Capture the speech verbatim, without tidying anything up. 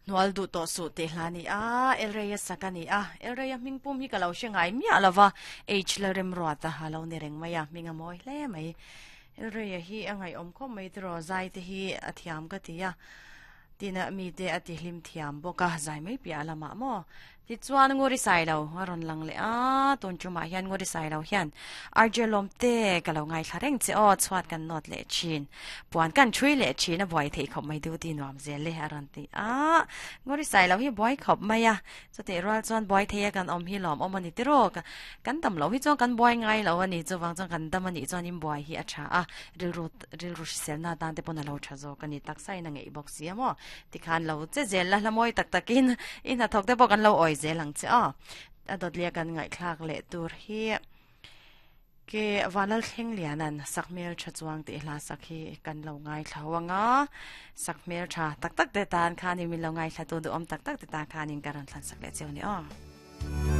Nual du to su te hla ni a elreya sakani a elreya mingpum hi kalau shengai mi alawa h la rem ro ta halo ni reng maya minga moi hle mai elreya hi angai om ko mai tro zai te hi athiam ka tia tina mi te ati hlim thiam boka zai mai pi alama mo ti chuan ngori sai lo aron lang le a tun chuma hian ngori sai lo hian arjelom te ka lo ngai thlareng che o chuat kan not le chin puan kan thui le chin a boi thei khop mai du ti nuam zel le aron ti a ngori sai lo hi boi khop mai a chu te ral chuan boi thei kan om hi lom om ani ti ro kan tam lo hi chuan kan boi ngai lo ani chu wang chuan kan dam ani chuan in boi hi a tha a ril ru ril ru sel na tan te pon lo tha zo kan ni tak sai na ngei bok sia mo ti khan lo che zel la lamoi tak takin in a thok te bok kan lo oi zelang che a adot lia kan ngai thlak le tur hi ke vanal thleng lianan sakmel tha chuang te hla sakhi kan lo ngai thlawanga sakmel tha tak tak te tan khani min lo ngai thla tu du om tak tak te ta khanin karan thlan sak le cheu ni a.